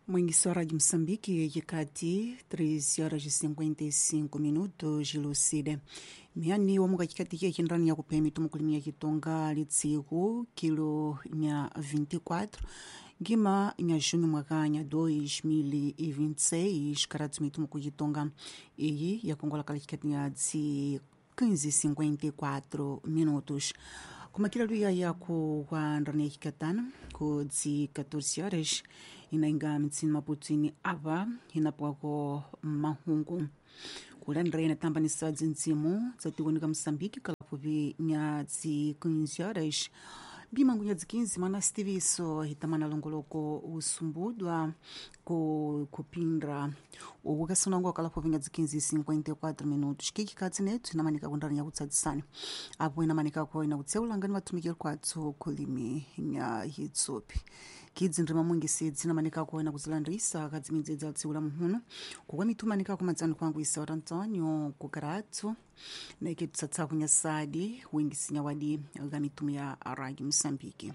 Mwingi wa Rádio Moçambique, yikati 3 horas e 55 minutos, Lucida. Miani wa mukachikati kia chindrani ya kupemi tumukulimia kitonga litsiku kilo nya 24 gima nya junho mwaka nya 2026 karatu mitumu kuchitonga iyi yakongola kala chikati nya dzi 15:54 minutos kumakila luya yako kwa ndrani ya chikatana ku dzi 14 horas inainga mitsini maputini apa inapwako mahungu kulandira inatambanisa dzindzimu dzatiwonika Moçambique kalapupi nya dzi 15 horas bimangu nya dzi 15 mana sitiviso hitamana longoloko usumbudwa ku kupindra uku kasunango kalapupi nya dzi 15:54 minutos kikikatsi netu inamanika kundrani yakutsadzisana apo inamanikako inakutseulangani vatumikiri kwatso kulimi nya hitsopi kidzi ndima mungisi dzinamanikako inakudzilandrisa kadzimidzi dza muhuno kukwa mitumanikako madzani kwangu isaura Antonio kukaratso naike tutsatsa kunyasadi wingisinya wadi ga mitumu ya Rádio Moçambique.